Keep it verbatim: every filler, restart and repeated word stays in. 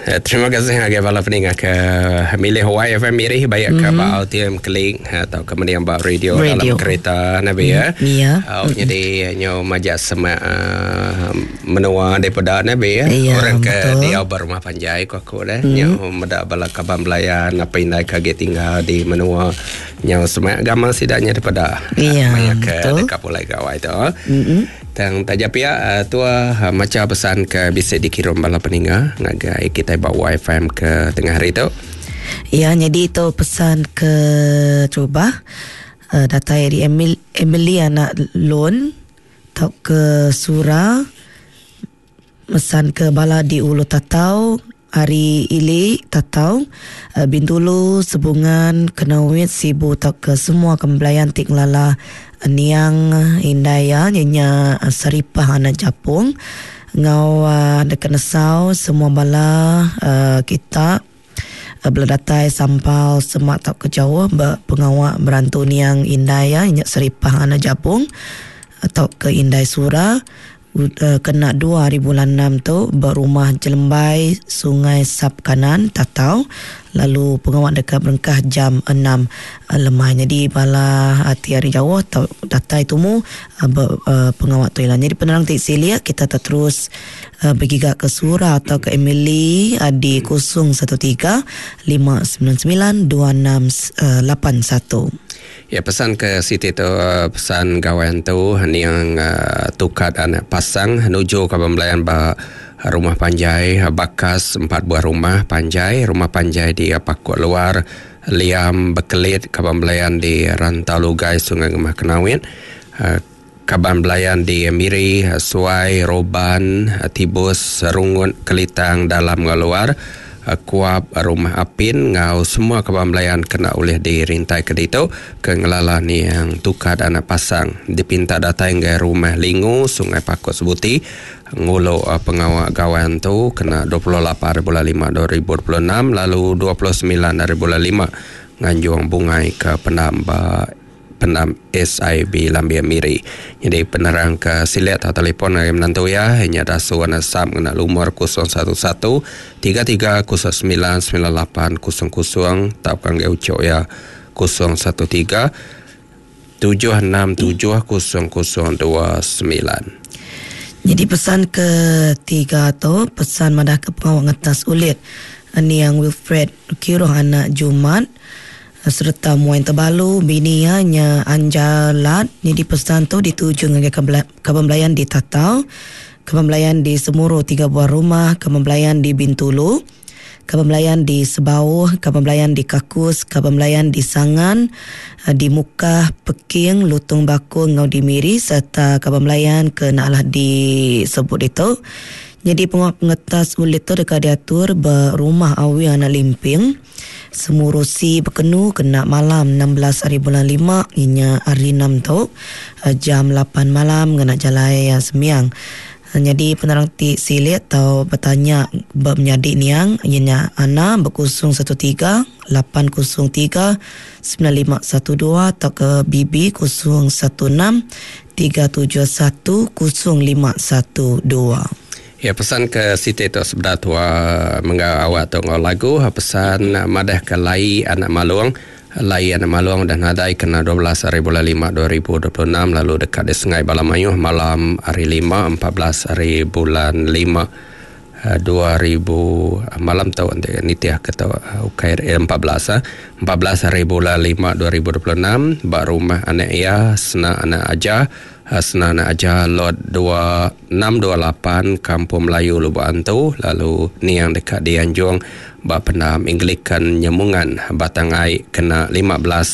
Eh, terima kasih ngagai bala peninga ke milih Y F M Miri baik ke mm-hmm. ba Altium Keling atau ke mendiang ba radio, radio dalam kereta nabi ya. Iya. Oh, mm-hmm. Jadi nyo majak semak uh, menua daripada nabi ya. Ya, orang ke dia berumah panjai ku aku dah. Mm-hmm. Nyo meda bala kaban belayan apa indai kaget tinggal di menua nyo semak agama sidaknya daripada. Iya. Maya ke dekat pulai gawai tu. Mm-hmm. Tang taja pia tua maca pesan ke bisa dikirim bala peninga ngagai kita ba Y F M ke tengah hari tu. Ya, jadi itu pesan ke cuba uh, datai dari Emil, Emily anak Lon tau ke Sura pesan ke bala di Ulu Tatau hari ili Tatau uh, Bintulu Sebungan Kenawit Sibu tau ke semua kembelayan tik ngelala niang indaya nya Saripah anak Japung ngau uh, dekat nesau semua bala uh, kita uh, bela datai sampal semak tak ke jauh pengawak berantu niang indaya nya Saripah anak Japung atau ke Indai Sura uh, kena dua hari bulan enam tu berumah Jelembai Sungai Sap Kanan Tatau lalu pengawak dekat berengkah jam enam lemah. Jadi bala hati hari jauh atau datai tumu uh, uh, pengawak tu ialah. Jadi penerang tik silia kita terus uh, bergiga ke Sura atau ke Emily uh, di kosong satu tiga lima sembilan sembilan dua enam lapan satu. Ya, pesan ke Siti tu pesan gawan tu yang uh, tukat anak pasang menuju ke pembelayan ba rumah panjai bakas empat buah rumah panjai rumah panjai di Pakut Luar Liam Bekelit kaban belayan di Rantau Lugai Sungai Gemah Kenawit uh, kaban belayan di Miri Suai Roban Tibus Rungut Kelitang Dalam Luar Kuap Rumah Apin ngau semua kaban belayan kena oleh dirintai ke ditu ke ngelala ni yang tukat anak pasang dipinta datang ke rumah Lingu Sungai Pakut Sebuti ngulu uh, pengawak gawan tu kena dua puluh lapan hari bulan lima dua ribu dua puluh enam lalu dua puluh sembilan hari bulan lima nganjung bungai ke pendam ba pendam S I B Lambia Miri. Jadi penerang ke silet atau telefon yang menantu ya hanya dasuan asam kena lumur kosong satu satu tiga tiga kosong sembilan sembilan lapan kosong kosong tapkan ke ucok ya kosong satu tiga tujuh enam tujuh kosong kosong dua sembilan. Jadi pesan ketiga tu pesan madah ke pengawak ngetas ulit niang Wilfred Kiroh anak Jumat serta muain terbalu bininya Anjalat. Jadi pesan tu dituju ngagai kaban belayan di Tatau, kaban belayan di Semuru tiga buah rumah, kaban belayan di Bintulu, kaban belayan di Sebauh, kaban belayan di Kakus, kaban belayan di Sangan, di Mukah, Peking, Lutung Bakung ngau di Miri serta kaban belayan ke nak lah disebut itu. Jadi pengawak pengetas ulit tu dekat diatur berumah awi anak limping Semurusi berkenu kena malam enam belas hari bulan lima inya hari enam tu jam lapan malam kena jalai semiang. Jadi penerang ti silit atau bertanya bermenyadik niang ianya ana berkosong satu tiga lapan kosong tiga sembilan lima satu dua atau ke B B kosong satu enam tiga tujuh satu kosong lima satu dua. Ya, pesan ke Siti tu sebelah tua menggau awak tu ngau lagu pesan madah ke lai anak malung lai anak malung dan nadai kena dua belas hari bulan lima dua ribu dua puluh enam lalu dekat di Sungai Balamayuh malam hari lima empat belas hari bulan lima dua ribu malam tu nanti nitiah ke tau ukai empat belas empat belas hari bulan lima dua ribu dua puluh enam bak rumah anak ia sena anak aja Sena anak aja lot dua enam dua lapan Kampung Melayu Lubuk Antu lalu niang dekat di Anjung bak pendam Anglican Nyemungan Batang Ai kena lima belas